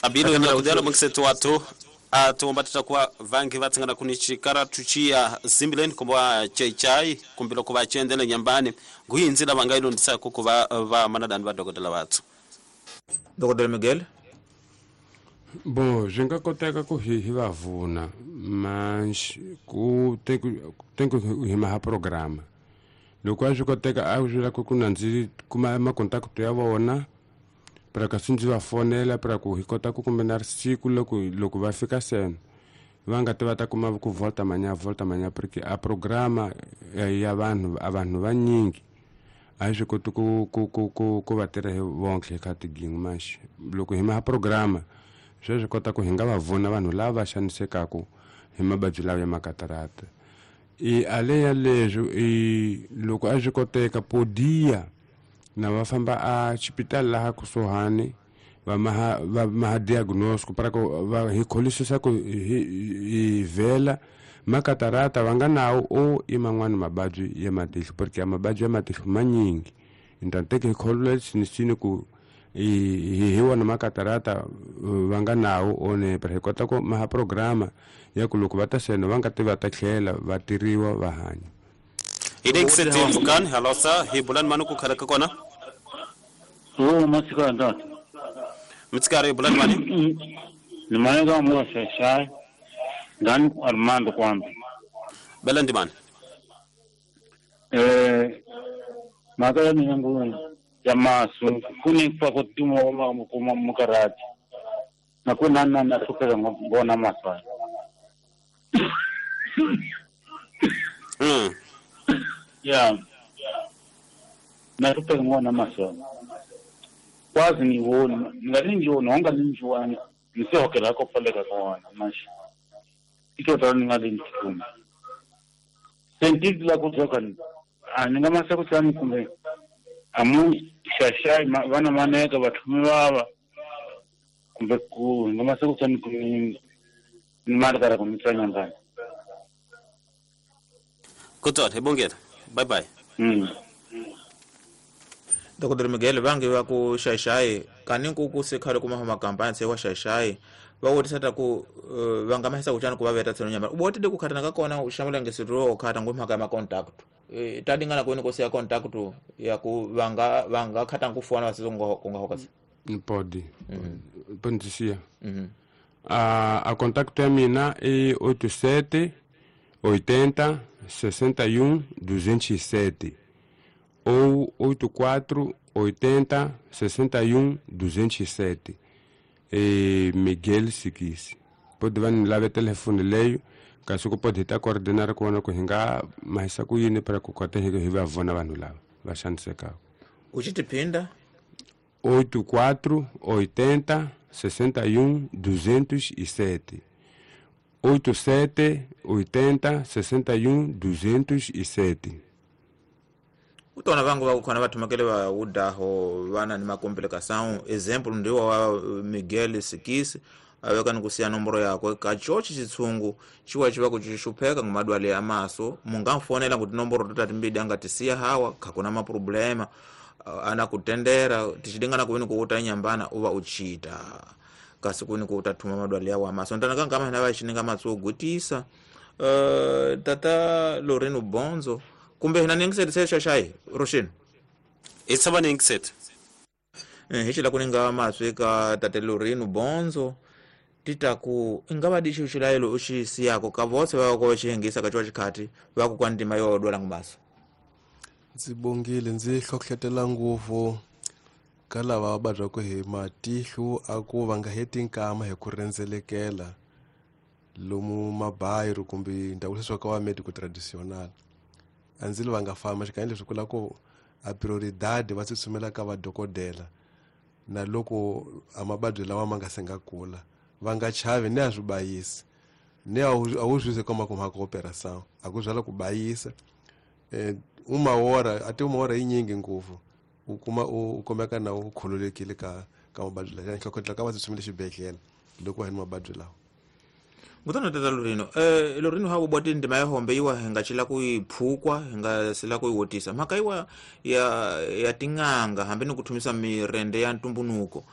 Abilo ina kudela muksetu watu atuomba tutakuwa vangi vatsingana kuni chikara tuchia zimbileni kumba chai kumbilo kuva chendele nyambani nguinzila vangailo ndisa kukuva va manadani va dokodela vathu. Dokodela Miguel. Bom, swi nga koteka ku hi va vuna mas ku tem ku hi maha programa loko a swi koteka a swi la ku na ndzi kuma makontakto ya vona para ka ndzi va fonela para ku hi kota ku kumbe na siku loko va fika sena va nga ti va ta kuma ku volta manya porque a programa ya vanhu a vanhu vanyingi a swi koti ku va tirha hi vonke ka tigingu mas loko hi maha programa sweswi kota ku hi nga va vona vanhu lava xanisekaka hi mavabyi lawa ya makatarata. I ale ya leswi i loko a swi koteka podia na va famba a xipitali laha kusuhani va maha diagnose para ku va hi kholisisa ku hi vhela makatarata va nga nawo o i man'wani mavabyi ya matihlo porque mavabyi ya matihlo manyingi então tem que hi kholola sinisini ku hi wona makatarata va nga nawo one para hi kota ku maha programa ya ku loko va ta sena va nga ti va ta tlhela va tiriwa va hanya. Idexete mfukani halosa hi bulani mani ku khala ka kona. O masikara ndata. Mitsikari bulani mani? Ni mani ka mo shashai. Ndani Armando kwamba. Bela ndimani. Makala ni nguni ya masu kuni kwa kutumo kuma mukarati. Na kuna na sukela ngona maswa. Ya. Na sukela ngona maswa. Kwazi ni wona ngani ngiwona ngani ngiwona ngisehokela kopaleka kona manje. Ito tani ngani ngikuma. Sentiki la kuzoka ni ningamasa kutsani kumbe amu shashai vana maneka vathumi vava kumbe ku ngamasa kutsani kumbe markara kumitsanya ngani. Kutot hebongeta. Bye bye. Dr. Miguel vangi va ku shashai kani ku ku sekhale kuma homa campaign se wa shashai va wotisa ku va nga mahisa kuchana ku va veta tseno nyamba uboti de ku khatana ka kona u shamula ngesiro khata ngomhaka ya contact tadingana ku nkosi ya contact ya ku vanga khata ngufona vasizongo kunga hokasi pode pode a contact ya mina é 87 80 61 207 ou 84 80 61 207. E Miguel Sikisi. Pode van lá ver telefone leio, caso que pode estar coordenar com a coisa, mas isso aqui para que o que vai vona vanhu lá, vai xaniseka. O que te pinda? 84 80 61 207. 87 80 61 207. Utona vangu vakukhona vathumakele va udaho vana ni makomplikação exemplo ndiwo wa Miguel Sikisi aveka ni kusiya nomboro yakwe kachochi chitsungu chiwa chiva kuchixupheka ngumadwale ya maso mungamfonela kuti nomboro totati mbidi angatisiya hawa khakuna maproblema ana kutendera tichidingana kuvini kuuta inyambana uva uchita kasi kuni kuutathuma madwale yawo amaso ntana kankama hina vaxininga matsugutisa tata Loreno Bonzo kumbe hina ningisete se shashai Roshin itsava ningisete hichila kuninga maswi ka tate Loreno Bonzo titaku ingava dishi uxilayelo uxisiyako ka vose va ko xihengisa ka xikhati va ku kwa ndima yo dwala ngumaso. Ndzi bongile ndzi hlohletela ngopfu ka lava va vabyaka hi matihlo a ku va nga heti nkama hi ku rhendzelekela lomu mabayiro kumbe ndhawu leswi ka wa medico traditional. A ndzi va nga famba xikan'we leswi kula ku a prioridade va tsutsumela ka vadokodela na loko a mavabyi lawa ma nga se nga kula va nga chavi ni a swi bayisi ni a wu swi se koma ku mhaka operação a ku byala ku bayisa uma hora ate uma hora yinyingi ngopfu u kuma u kumeka na u khululekile ka mavabyi lawa nhlokodela ka va tsutsumela xibedhlele loko va ni mavabyi lawa. Ngutana tata Loreno Loreno hawo bwati ndima ya hombe iwa hingachila kuiphukwa hingasila kuiwotisa mhaka iwa ya ting'anga hambi ni kuthumisa mirende ya ntumbunuko